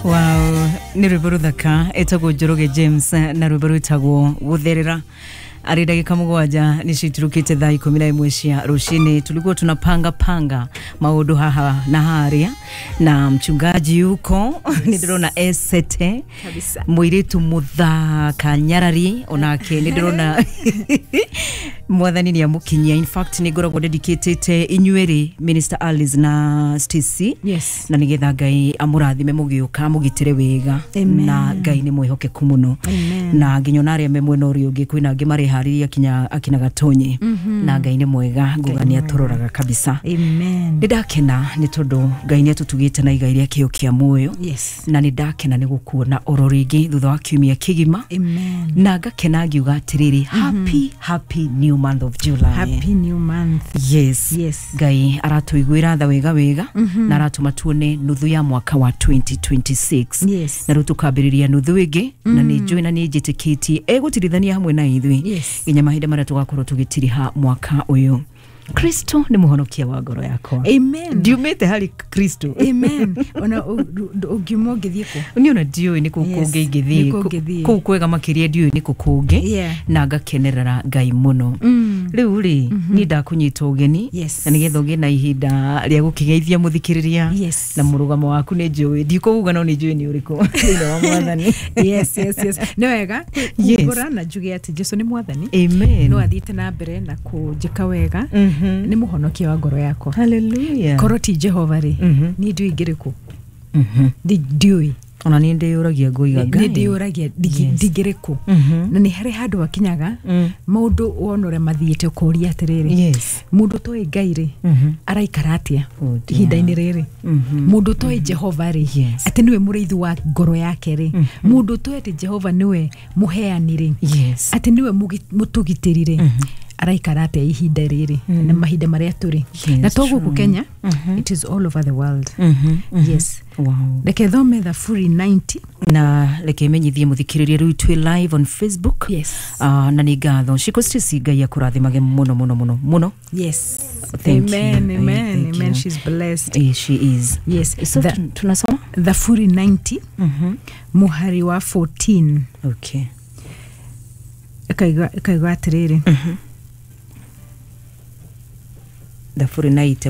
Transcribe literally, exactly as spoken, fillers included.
Wow, nä rwä mbo rå thaka ĩtagwo Njoroge James na rwĩmbo rwĩtagwo Gũtherera. Arĩ ndagĩka mũgwanja nĩ citurukĩte thaa ikũmi na ĩmwe cia rũcinĩ. Tulikuwa tunapanga panga maũndũ haha na harĩa na mchungaji yuko, nĩ ndĩrona esete. Kabisa. Mũirĩtu mũthaka nyarari onake nĩ ndĩrona Mwathani nĩ amũkinyia. In fact, nĩ ngoragwo dedicatĩte inyuerĩ, Minister Alice na Stacy, Yes. na nigetha Ngai amũrathime mũgĩũka, mũgitĩre wega. Amen. Na Ngai nĩ mwĩhokeku mũno. Amen. Na nginya ona arĩa me mwena ũrĩa ũngĩ, kwĩna angĩ mareharĩria kinya akina Gatonye, na Ngai nĩ mwega, nguga nĩ atũroraga kabisa. Amen. Nĩ ndakena nĩ tondũ Ngai nĩ atũtugĩte na igai rĩa kĩo kĩa muoyo. Yes. Na nĩ ndakena nĩ gũkuona oro rĩngĩ thutha wa kiumia kĩgima. Amen. Na ngakena ngiuga atĩrĩrĩ, happy, happy new month of July. Happy new month. Yes. Yes. Ngai aratũiguĩra tha wega wega na aratũma tuone nuthu ya mwaka wa twenty twenty-six. Yes. Na rĩu tũkambĩrĩria nuthu ĩngĩ, na nĩ njũĩ na nĩ njĩtĩkĩtie egũtirithania hamwe na ithuĩ Yes. nginya mahinda marĩa tũgakorwo tũgĩtiriha mwaka ũyũ. Kristo nĩ mũhonokia wa ngoro yakwa. Amen. Ndiumĩte harĩ Kristo. Amen. Ona ũngiuma ũngĩthiĩ kũ? Niĩ ona ndiũĩ nĩ kũ Yes, kũngĩ ingĩthiĩ. nĩ kũ ũngĩthiĩ. Kũu kwega makĩria ndiũĩ nĩ kũ kũngĩ. Yeah. Na ngakenerera Ngai mũno. Mm. Rĩu rĩ, niĩ ndakũnyita ũgeni Yes. na nĩgetha ũgĩe na ihinda rĩa gũkĩgeithia mũthikĩrĩria. Yes. Na mũrũgamo waku nĩ njũĩ, ndikũuga no nĩ njũĩ nĩ ũrĩkũ thĩinĩ wa Mwathani. Yes, yes, yes. Nĩ wega Yes. kumbũra na njuge atĩ Jesu nĩ Mwathani. Amen. No athiĩte na mbere na kũnjĩka wega. Mhm. Nĩ mũhonokia wa ngoro yakwa. Hallelujah. Korwo ti Jehova rĩ, Mhm. niĩ ndiũĩ ingĩrĩ kũ. Mhm. Ndi- ndiũĩ. Ona niĩ ndĩyũragia ngoiga Nĩ Ngai ndĩyũragia ndigi- Yes. ndingĩrĩ kũ. Mhm. Na nĩ harĩ handũ hakinyaga Mm. maũndũ wona ũrĩa mathiĩte ũkoria atĩrĩrĩ, Yes. mũndũ ũtoĩ Ngai rĩ, Mhm. araikara atĩa Oh dear. ihinda-inĩ rĩrĩ? Mhm. Mũndũ ũtoĩ Jehova rĩ, Yes. atĩ nĩwe mũrĩithi wa ngoro yake rĩ, mũndũ ũtoĩ atĩ Jehova nĩwe mũheani rĩ, Yes. atĩ nĩwe mũgi- mũtũgitĩri rĩ, araikara atĩa ihinda rĩrĩ na mahinda marĩa tũrĩ? Yes, Na to gũkũ true. Kenya, it is all over the world. Mhm. Mhm. Yes. Wow. Reke thome Thaburi mĩrongo kenda. Na reke menyithie mũthikĩrĩria rĩu twĩ live on Facebook. Yes. uh, na nĩ ngatho Shiko Stacy, Ngai akũrathimage mũno mũno mũno mũno. Yes. Thank you. Amen. Eh, Amen. thank Amen. you. She's blessed. Eh, she is. Yes. So The- tun- tunasoma Thaburi mĩrongo kenda, Mhm. muhari wa kũmi na inya. okay ĩkauga ĩkauga atĩrĩrĩ. Thaburi naite.